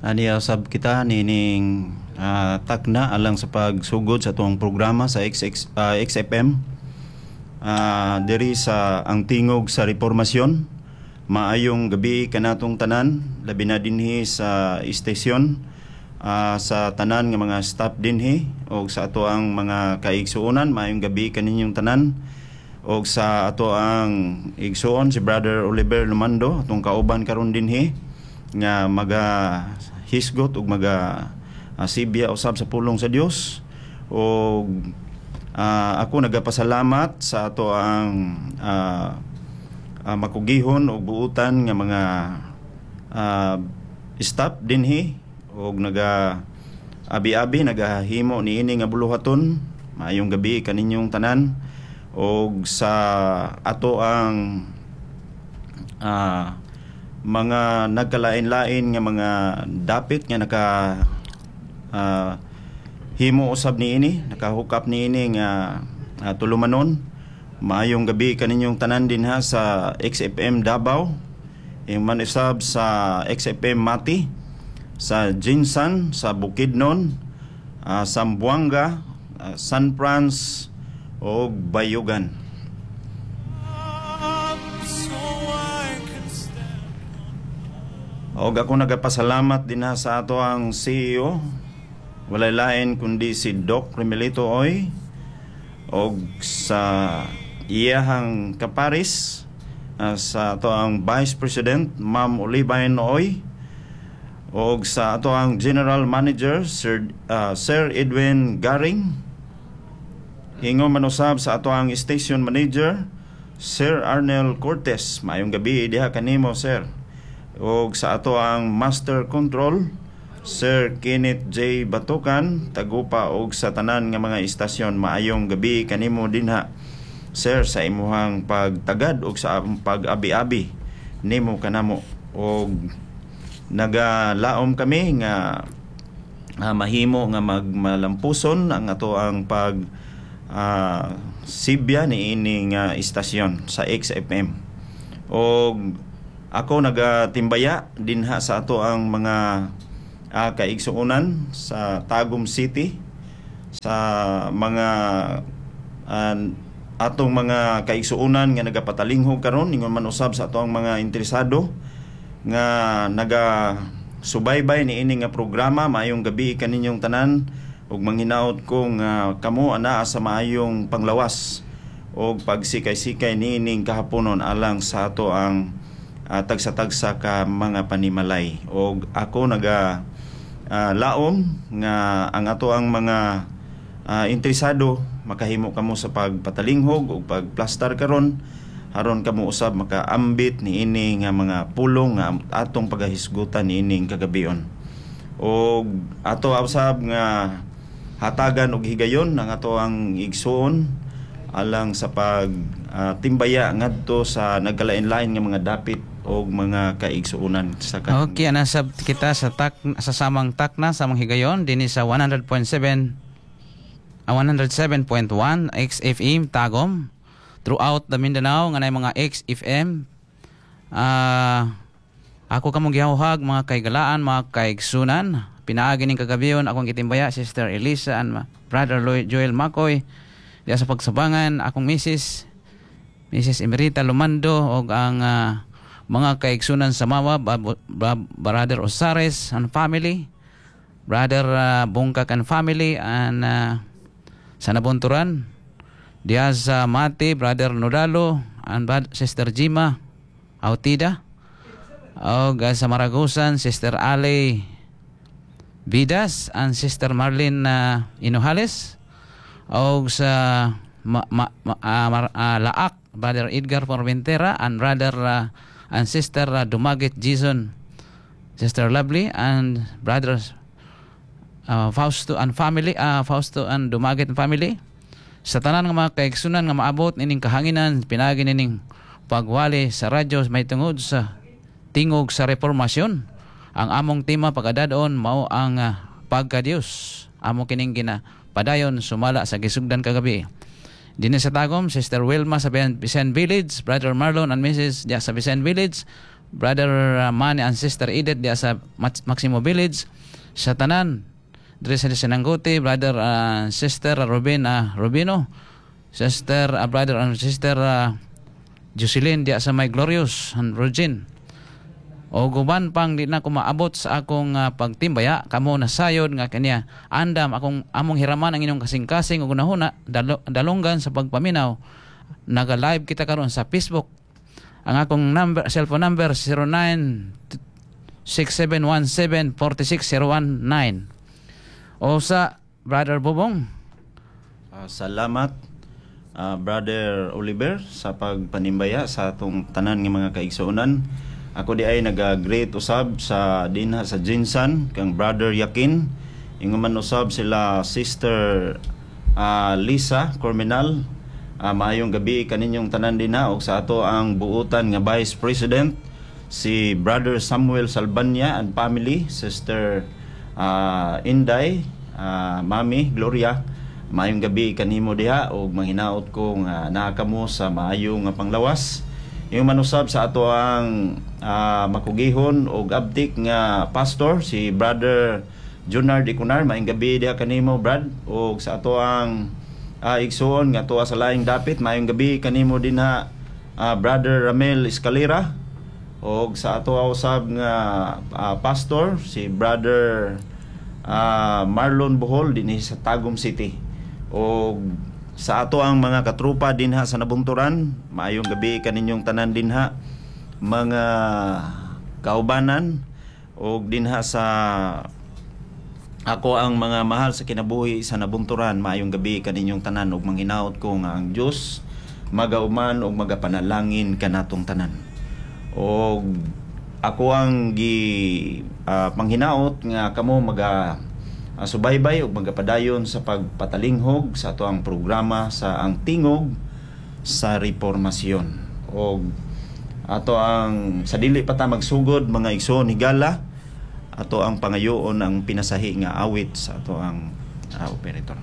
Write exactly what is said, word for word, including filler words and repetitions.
Ani usab kita nining uh, takna alang sa pagsugod sa atong programa sa X X, ah, X F M uh, diri sa Ang Tingog sa Reformasyon. Maayong gabi kanatong tanan, labi na dinhi sa istasyon, ah, sa tanan nga mga staff dinhi og sa ato ang mga kaigsuonan, maayong gabi kaninyong tanan, og sa ato ang igsuon si Brother Oliver Lumando, atong kauban karon dinhi nga maga hisgot ug maga uh, sibya usab sa pulong sa Dios. Og ah, ako nagapasalamat sa ato ang ah, ah, makugihon ug buutan nga mga ah, staff dinhi og naga abi-abi, nagahimo niini nga buluhaton. Maayong gabi kaninyong tanan, og sa ato ang ah, mga nagkalain-lain nga mga dapit nga naka ah, himo usab niini, nakahukap niini nga uh, tulumanon. Maayong gabi kaninyong tanan dinha sa X F M Davao, man usab sa X F M Mati, sa GenSan, sa Bukidnon, uh, Zamboanga, ah, San Franz ug Bayugan. So I can stand. Og ako nagapasalamat din ha sa ato ang C E O, walay lain kundi si Doc Remelito Oy, og sa iyahang kaparis, ah, sa ato ang Vice President, Ma'am Olivine Oy, og sa ato ang General Manager, Sir ah, Sir Edwin Garing. Ingon man usab sa ato ang Station Manager, Sir Arnel Cortez. Maayong gabi diha kanimo, sir. Og sa ato ang Master Control, Sir Kenneth J. Batukan, tagupa, og sa tanan nga mga istasyon, maayong gabi kanimo dinha, sir, sa imuhang pagtagad og sa among pag-abi-abi nimo kanamo. Og nagalaom kami nga ah, mahimo nga magmalampuson ang ato ang pag ah, sibya ni ini nga istasyon sa X F M. Og ako nagatimbaya dinha sa ato ang mga ah, kaigsuonan sa Tagum City, sa mga ah, atong mga kaigsuonan nga nagapatalinghog karon, ingon man usab sa ato ang mga interesado nga naga subaybay ni ini nga programa. Maayong gabi kaninyong tanan ug manghinaot ko nga kamo anaa sa maayong panglawas og pagsikay-sikay niining kahaponon alang sa ato ang ah, tagsa-tagsa ka mga panimalay. Og ako naga ah, laom nga ang ato ang mga ah, interesado, makahimo kamo sa pagpatalinghog ug pagplastar karon aron kamo usab makaambit niini nga mga pulong nga atong pagahisgutan niining kagabion. Og ato usab nga hatagan og higayon ang ato ang igsuon alang sa pag ah, timbaya ngadto sa nagkalain-lain nga mga dapit og mga kaigsuonan sa ka- Okay, ana sab kita sa tak sa samang takna, samang higayon dinhi sa one hundred point seven, ah, one hundred seven point one X F M Tagum, throughout the Mindanao nga nay mga X F M. Ah, ako kamong gihahuhag, mga kaigalaan, mga kaigsunan, pinaagi ning kagabion akong gitimbaya, Sister Elisa and ma- Brother Lloyd Joel Makoy diya sa pagsabangan, akong misis, Missus Emerita Lumando, og ang ah, mga kaigsunan sa Mawab, Brother Osares and family, Brother uh, Bungkak and family, and uh, sa Nabunturan, diya sa Mati, Brother Nodalo and Brad- Sister Jima Autida, og uh, sa Maragusan, Sister Ale Vidas and Sister Marlene uh, Inuhales, og sa ma, ma, ma, ah, Mar- ah, Laak, Brother Edgar Formentera and Brother uh, and Sister uh, Dumagit Jason, Sister Lovely and Brother uh, Fausto and family, uh, Fausto and Dumagit and family, sa tanan nga mga kaigsunan nga maabot nining kahanginan pinaagi nining pagwali sa radyo may tungod sa Tingog sa Reformasyon. Ang among tema pagkadadon mao ang uh, pagka-Dios. Amo kining gina padayon sumala sa gisugdan kagabi. Dinhi sa Tagum, Sister Wilma sa Bisan Village, Brother Marlon and Missus diya sa Bisan Village. Brother uh, Manny and Sister Edith diya sa Maximo Village, sa tanan diri sa Sinanguti, Brother uh, Sister Robin uh, Rubino, Sister uh, Brother and Sister uh, Jocelyn diya sa My Glorious and Virgin. O guban pang di na ko maabot sa akong uh, pagtimbaya, kamo nasayod nga kaniya andam akong among hiraman ang inyong kasing-kasing ug hunahuna, dalo, dalunggan sa pagpaminaw. Naga-live kita karon sa Facebook. Ang akong number, cellphone number, zero nine six seven one seven four six zero one nine. O sa Brother Bobong. Ah, salamat ah, Brother Oliver, sa pagpanimbaya sa atong tanan nga mga kaigsuonan. Ako di ay naga-greet usab sa dinha sa Jinsan kang Brother Yakin. Ingon man usab sila Sister ah, Lisa Corminal. Ah, maayong gabi kaninyong tanan dinha ug sa ato ang buutan nga Vice President, si Brother Samuel Salbanya and family, Sister ah, Inday, ah, Mami Gloria. Maayong gabi kanimo diha ug manghinaot ko nga naa kamo sa maayo nga panglawas. Ingon man usab sa ato ang ah, makugihon ug abtik nga pastor, si Brother Junard Icunar, maayong gabi diha kanimo, Brad, ug sa ato ang uh, igsuon nga tuwa sa laing dapit, maayong gabi kanimo dinha, ah, Brother Ramel Escalera, ug sa ato usab nga ah, pastor, si Brother ah, Marlon Bohol dinhi sa Tagum City. Og sa ato ang mga katrupa dinha sa Nabunturan, maayong gabi kaninyong tanan dinha, mga kaubanan, og dinha sa ako ang mga mahal sa kinabuhi sa Nabunturan, maayong gabi kaninyong tanan ug manghinaot ko nga ang Dios magauman ug magapanalangin kanatong tanan. Og ako ang gi ah, panghinaot nga kamo maga ah, subaybay ug magapadayon sa pagpatalinghog sa ato ang programa sa Ang Tingog sa Reformasyon. Og ato ang sa dili pa ta magsugod, mga igsoon higala, ato ang pangayoon ang pinasahi nga awit sa ato ang ah, operator.